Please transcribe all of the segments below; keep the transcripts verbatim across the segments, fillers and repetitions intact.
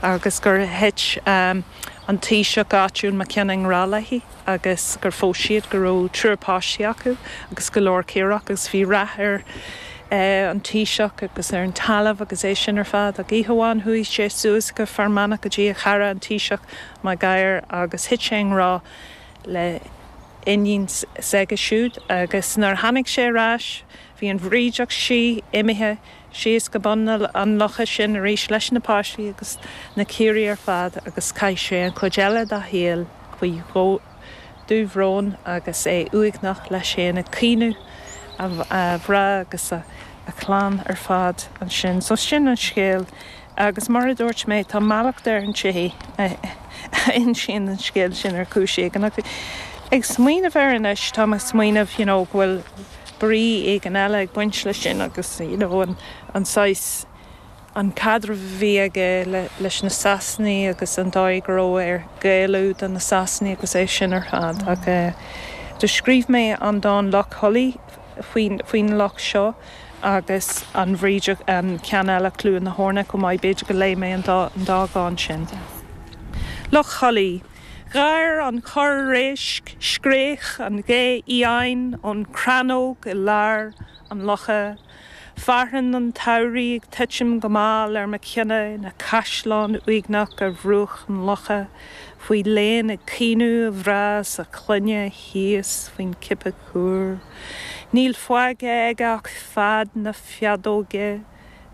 agus gur thit um, an taoiseach áitiúil Mac Cionnaith i ngrá léi agus gur phós siad go raibh triúr páistí acu agus go leor caorach agus bhí rath ar uh, an taoiseach agus ar an talamh agus é sin ar fad ach oíche amháin chuaigh sé suas go Fear Manach go dtí a chara an taoiseach Mac Gadhair agus thit sé i ngrá le iníon s'aige siúd agus nuair tháinig sé ar ais bhí an bhrídeach sí imithe síos go bun an locha sin arís leis na páistí agus na caoirigh ar fad agus chaith sé an chuid eile dá shaol faoi dhúbhrón agus é uaigneach leis féin ag caoineadh a mhná agus a a chlann ar fad ansin. So sin an scéal agus mar a dúirt mé tá mallacht ar an té a insíonn an scéal sin ar chúis éigin ach ag smaoineamh air anois tá mé ag smaoineamh you know, go bhfuil brí éigin eile ag baint leis sin agus you know, an, an saghas an caidreamh a bhí aige le, leis na Sasanaigh agus an dóigh go raibh air géilleadh do na Sasanaigh agus é sin ar fad. Mm. Ach uh, do scríobh mé an dán Loch Thulaí faoin, faoin loch seo agus an bhrídeach an ceann eile Cluain na hEorna go maith b'fhéidir go léifidh mé an dá, an dá dhán sin. Loch Thulaí. Gháir an corr réisc scréach an ghé fhiáin ón chrannóg i lár an locha, Fearthainn an tsamhraidh ag titim go mall ar Mac Cionnaith ina chaisleán uaigneach ar bhruach an locha, faoi léan ag caoineadh a mhná is a chlainne thíos faoin gcipeadh cúr. Níl fágtha aige ach fead na feadóige,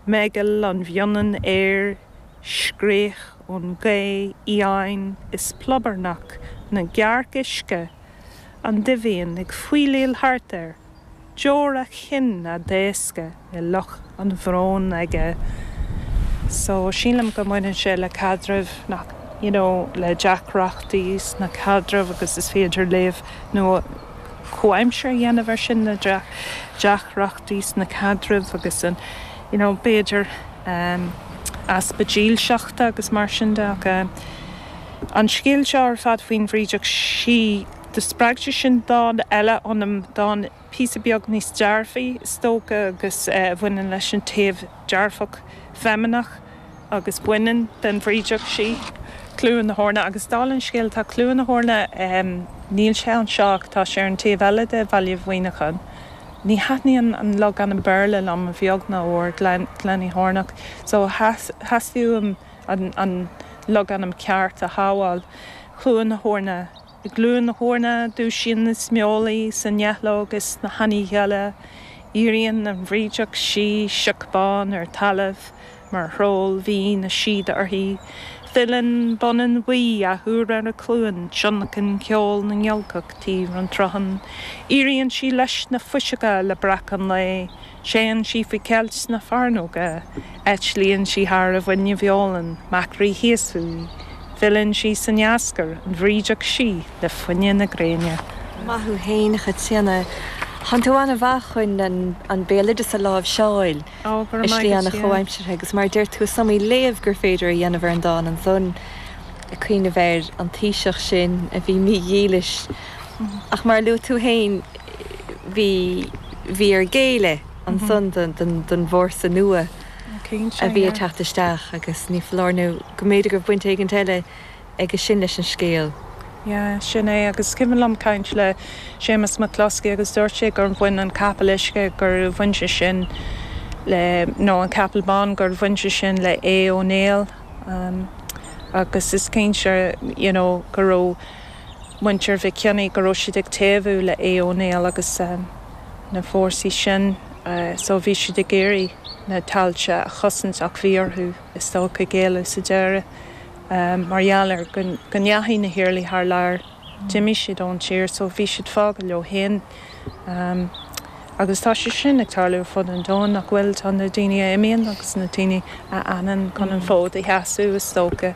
meigeall an bhionainn aeir, scréach ón ghaoth fhiáin is plobarnach na gcearc uisce, an duibhíon ag faoileáil thart air, deora a chinn á dtaoscadh i loch an bhróin aige. So sílim go mbaineann sé le caidreamh nach you know, le deacrachtaí sna caidrimh agus is féidir léamh nó comhaimseartha a dhéanamh air sin na deacrachtaí sna caidrimh agus an you know, b'fhéidir um, easpa dílseachta agus mar sin de ach uh, an scéal seo ar fad faoin bhrídeach sí do spreag sé sin dán eile ionam dán píosa beag níos dearfaí is dócha agus uh, bhaineann leis an taobh dearfach feimineach agus baineann den bhrídeach sí. Cluain na hEorna agus dála an scéil tá Cluain na hEorna um, níl sé anseo tá sé ar an taobh eile de Bhaile Mhuineacháin. Ní thaitníonn an logainm Béarla liom a bheag ná a mhór Glenyhornock, so theastaigh uaim an, an logainm ceart a shábháil. Cluain na hEorna. I gCluain na hEorna dúisíonn na smólaí sa neitleog is na hanní gheile, Éiríonn an bhrídeach sí sioc bán ar talamh mar throll bhí na síoda uirthi. Filleann baineann bhuí athuair ar a cluain, tionlacan ceol na ngiolcach taobh an tsrutháin. Éiríonn sí leis na fuiseoga le breacadh an lae, Téann sí faoi cheilt sna fearnóga, eitlíonn sí thar a bhuinne bheolann, maicrí thíos fúithi. Filleann sí san eascar, an bhrídeach sí le fuinneamh na gréine. Maith thú féin a Chaitríona. Tánn tú an-mhaith chun an, an béaloideas a láimhseáil Ó, go raibh i maith slí agat, ana yeah. chomhaimseartha agus mar deir tú is iomaí léamh gur féidir a dhéanamh ar an dán ansan ag cuimhneamh ar an taoiseach sin a bhí mídhílis. Ach mar luaigh tú féin bhí bhí air géilleadh ansan don, don, don bhfórsa nua Cinnte, a bhí yeah. ag teacht isteach agus ní foláir nó go mb'fhéidir go raibh baint éigin eile aige sin leis an scéal. Yeah, sin é agus cuimhin liom caint le Séamus McCloskey agus dúirt sé gur bhain an capall uisce gur bhain sé sin le nó an capall bán gur bhain sé sin le Aodh Ó Néill um, agus is cinnte you know, go raibh muintir Mhic Cionnaith go raibh siad ag taobhú le Aodh Ó Néill agus um, na fórsaí sin uh, so bhí siad ag iarraidh na tailte a chosaint ach bhí orthu is dócha géilleadh sa deireadh. Um, mar gheall ar go ndeachaigh na hIarlaí thar lear d'imigh siad ón tír, so bhí siad fágtha leo féin. Um, agus tá sé sin ag tarlú fud an domhain nach bhfuil tá na daoine a imíonn agus na daoine a fhanann chun an fód a sheasamh is dócha.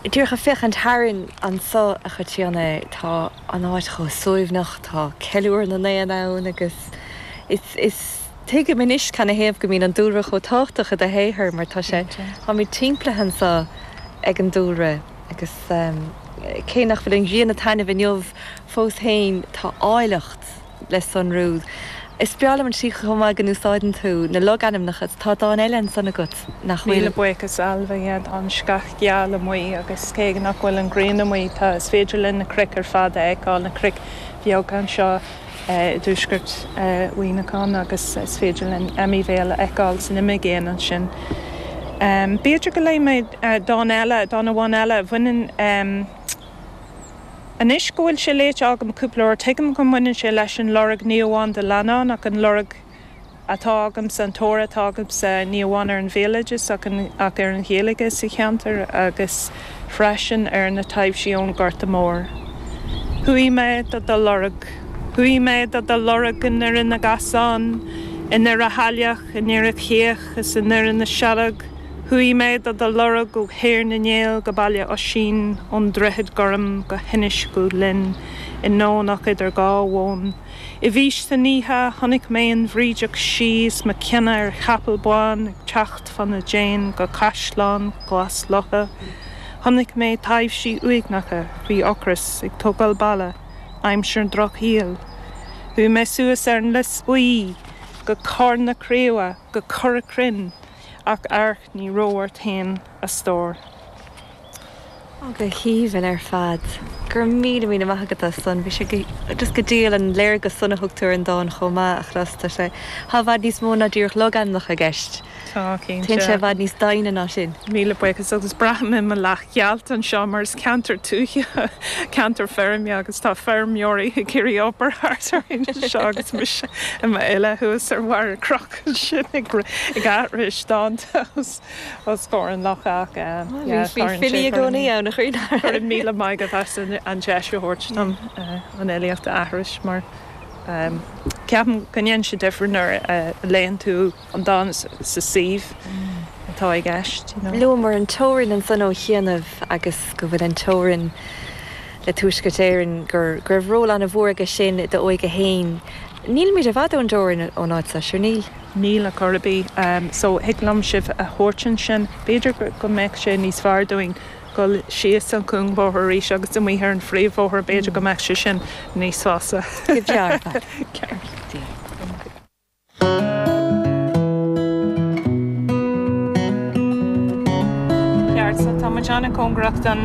Díreach ag féachaint tharainn anseo a Chaitríona tá an áit chomh suaimhneach tá ceiliúradh na n-éan ann agus is is tuigim anois canathaobh go mbíonn an dúlra chomh tábhachtach i do shaothar mar tá sé táimid timpeallaithe anseo ag an dúlra agus um, cé nach bhfuil an ghrian ag taitneamh inniu fós féin tá áilleacht le sonrú. Is breá liom an tslí chomh maith go n-úsáideann tú na logainmneacha, tá dán eile ansan agat nach bhfuil? Míle buíochas Ailbhe, yeah, tá an sceach gheal amuigh agus cé nach bhfuil an ghrian amuigh tá, is féidir linn na cnoic ar fad a fheiceáil, na cnoic bheaga anseo i dtuaisceart Mhuineacháin agus is féidir linn Emyvale a fheiceáil san imigéin ansin. B'fhéidir go léifidh mé dán eile, dán amháin eile a bhaineann. Anois go bhfuil sé léite agam cúpla uair, tuigim go mbaineann sé leis an lorg ní amháin do leannán ach an lorg atá agamsa, an tóir atá agamsa ní amháin ar an bhéaloideas ach ach ar an Ghaeilge sa cheantar agus freisin ar na taibhsí ón Ghorta Mór. Chuaigh mé do do lorg. Chuaigh mé do do lorg i nDoire na gCasán, i nDoire Shaileach, i nDoire Chéach is i nDoire na Sealg. Chuaigh mé do do lorg ó Thír na nGael go Baile Oisín, ón Droichead Gorm go hInis Gó Linn, i nDomhnach idir dhá mhóin. I bhfís san oíche chonaic mé an bhrídeach sí is mo chinnidh ar chapall bán ag teacht fá na déin go Caisleán Glas Locha. Chonaic mé taibhsí uaigneacha faoi ocras ag tógáil balla aimsir an Drochshaoil. Chuaigh mé suas ar an Lios Buí go Carn na Craoibhe go Cora Cruinn. Ach amharc ní raibh ort féin a stór. Ó, go haoibhinn ar fad. Go raibh míle míle maith agat as san. Bhí sé go, just go diail an léargas san a thug tú ar an dán chomh maith a chlos. Tá sé, tá i bhfad níos mó ná díreach logainmneacha i gceist. Tá, cinnte. Téann sé i bhfad níos doimhne ná sin. Míle buíochas agus braithim i mo leathghealt anseo mar is ceantar tuaithe, ceantar feirme agus tá feirmeoirí ag iarraidh obair thart orainn anseo agus mise i m'fhile thuas ar bharr cnoic ansin ag ag aithris dánta os os comhair an locha ach yeah Bhí filí i gcónaí ann a chroí. Go raibh míle maith agat as an deis a thabhairt dom an fhilíocht a aithris mar ceapaim go ndéanann sé difear nuair a léann tú an dán sa suíomh atá i gceist, you know. Luamar an teorainn ansan ó chianaibh agus go bhfuil an teorainn le Tuaisceart Éireann, gur go raibh ról an-mhór aige sin i d'óige fhéin. Nílimid i bhfad ón dteorainn ón áit seo, sure níl? Níl ar chor ar bith. So thig liom sibh a thabhairt ansin. B'fhéidir go mbeadh sé níos fearr dúinn dul síos an cúngbóthar arís agus amuigh ar an phríomhbhóthar, b'fhéidir go mbeadh sé sin níos fusa. Go breá ar fad. Ceart. Ceart, so tá muid an-chóngarach don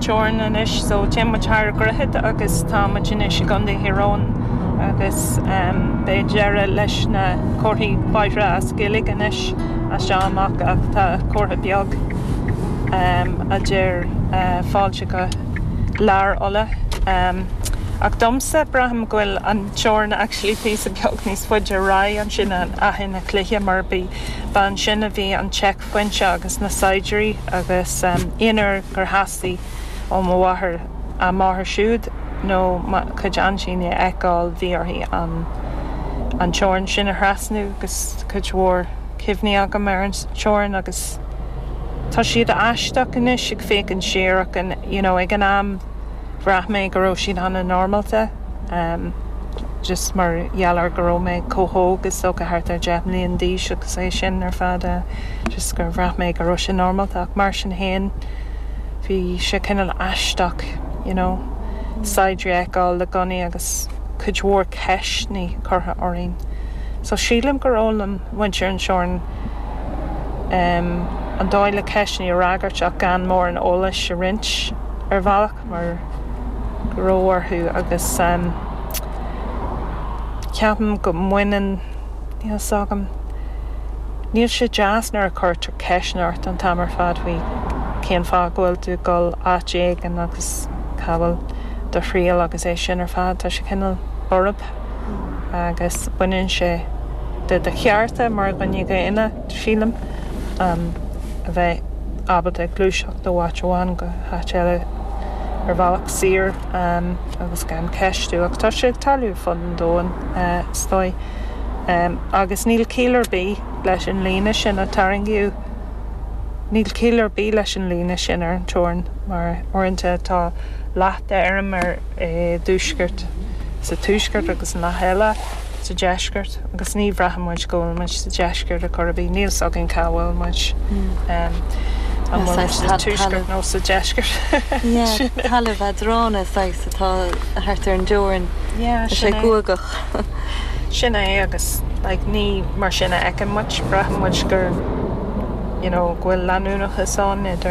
teorainn anois, so téann muid thar an droichead agus tá muid anois i gContae Thír Eoghain agus beidh deireadh leis na comharthaí bóithre as Gaeilge anois as seo amach ach tá comhartha beag a deir fáilte go Lár Uladh. Ach domsa, braithim go bhfuil an teorainn actually píosa beag níos faide ar aghaidh ansin in Achadh na Cloiche mar ba ansin a bhí an seicphointe agus na saighdiúirí agus aon uair gur theastaigh ó mo mháthair a máthair siúd nó mo chuid aintíní a fheiceáil bhí uirthi an an teorainn sin a thrasnú agus cuid mhór cuimhní agam ar an teorainn agus tá siad aisteach anois ag féachaint siar ach you know ag an am bhraith mé go raibh siad an-normálta just mar gheall ar go raibh mé chomh hóg is dócha thart ar deich mbliana d'aois agus é sin ar fad just gur bhraith mé go raibh sé normálta ach mar sin féin bhí sé cineál aisteach you know saighdiúirí a fheiceáil le gunnaí agus cuid mhór ceisteanna curtha orainn so sílim gur fhoghlaim muintir an teorainn an dóigh le ceisteanna a fhreagairt ach gan mórán eolais a roinnt ar bhealach mar go raibh orthu agus ceapaim go mbaineann, níl 's agam, níl sé deas nuair a chuirtear ceisteanna ort an t-am ar fad faoi cén fáth go bhfuil tú ag dul áit éigin agus cá bhfuil do thriall agus é sin ar fad, tá sé cineál borb agus baineann sé de do chearta mar dhuine daonna, sílim, a bheith ábalta gluaiseacht ó áit amháin go háit eile ar bhealach saor agus gan ceistiú. Ach tá sé ag tarlú ar fud an domhain, is dóigh. Agus níl ciall ar bith leis an líne sin a tarraingíodh. Níl ciall ar bith leis an líne sin ar an teorainn mar uaireanta tá leath d'fheirm ar i dtuaisceart, sa tuaisceart agus an leath eile sa deisceart agus ní bhraitheann muid go bhfuil muid sa deisceart ar chor ar bith. Níl 's againn cá bhfuil muid. An bhfuil muid sa tuaisceart nó sa deisceart? Talamh eadrána saghas atá thart ar an dteorainn. Tá sé guagach. Sin é agus like, ní mar sin a fheiceann muid braitheann muid gur you know, go bhfuil leanúnachas ann idir